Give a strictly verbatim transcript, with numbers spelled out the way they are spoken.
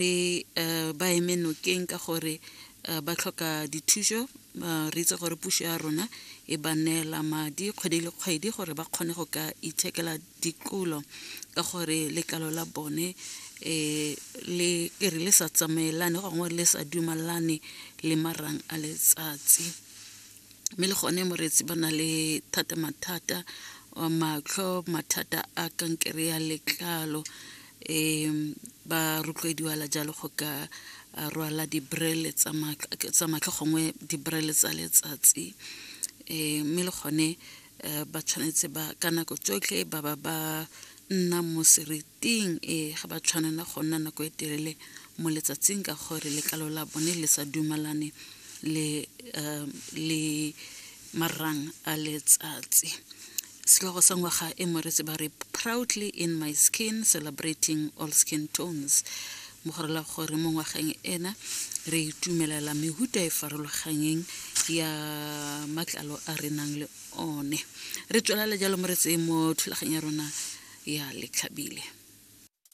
Re ba eme nokeng ka gore ba tlhoka dithuso. Re itse gore puso ya rona e ba neela madi kgwedi le kgwedi gore ba kgone go ka ithekela dikulo ka gore letlalo la bone le re le sa tsamaelane gongwe le sa dumalane le marang a letsatsi. Mme le gone moreetsi ba na le thata mathata a matlho, mathata a kankere ya letlalo, um ba rotloediwa jalo go ka rwala dibrele tsa matlho gongwe dibrele tsa letsatsi. um Mme le gone ba tshwanetse ba ka nako tsotlhe ba ba ba nna mo seriting, e ga ba tshwanela go nna nako e telele mo letsatsing ka gore letlalo la bone le sa dumalane le le marang a letsatsi. Setlhogo sa ngwaga e moreetsi ba re "Proudly in my skin, celebrating all skin tones", mo go rela gore mo ngwageng ena re itumelela mehuta e farologaneng ya matlalo a re nang le one. Re tswelela jalo moreetsi mo thulaganyo ya rona ya Letlhabile.